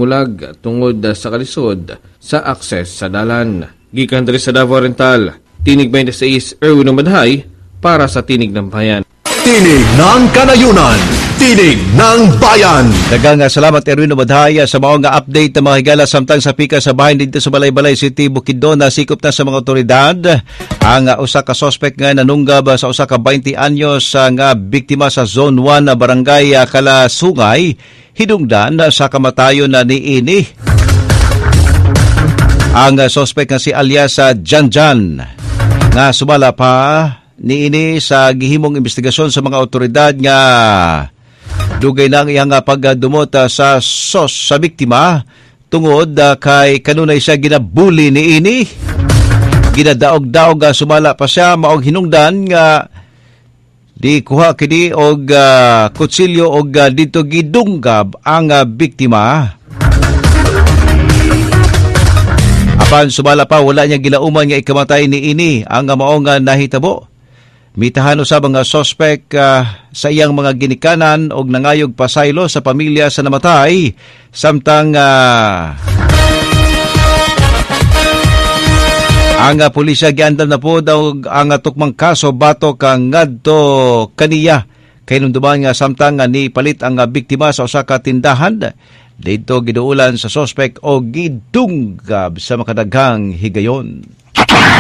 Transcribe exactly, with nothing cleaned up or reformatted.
pagmulag tungod sa kalisod sa akses sa dalan. Gikan diri sa Davao Oriental, Tinig twenty-six, Erwin Madhay para sa Tinig ng Bayan. Tinig ng Kanayunan, Tinig ng Bayan. Daghang salamat, Erwin Madhay, sa mao nga update ng mga higala. Samtang sa pika sa bahin dito sa Malaybalay City, Bukidnon, nasikop na sa mga otoridad ang usa ka suspect nga nanunggab sa usa ka twenty anyos nga biktima sa Zone one na Barangay Kalasungay hinungdan sa kamatayon na niini. Ang suspect nga si alias Janjan nga sumala pa niini sa gihimong investigasyon sa mga otoridad nga dugay na ang iyang pagdumot sa sos sa biktima tungod kay kanunay siya ginabuli niini. Ginadaog-daog sumala pa siya maog hinungdan nga di kuha kini og uh, kutsilyo og uh, dito gidunggab ang uh, biktima. Apan sumala pa wala niya gilauman nga ikamatay niini ang mao nga nahitabo. Mitahan usab ang suspect uh, sa iyang mga ginikanan og nangayog pasaylo sa pamilya sa namatay samtang uh, ang uh, pulisya giandam na po daw ang uh, tukmang kaso batok ang ngadto kaniya kay nunduman nga samtang uh, ni palit ang uh, biktima sa usa ka tindahan didto giduulan sa suspect o gidunggab sa makadaghang higayon.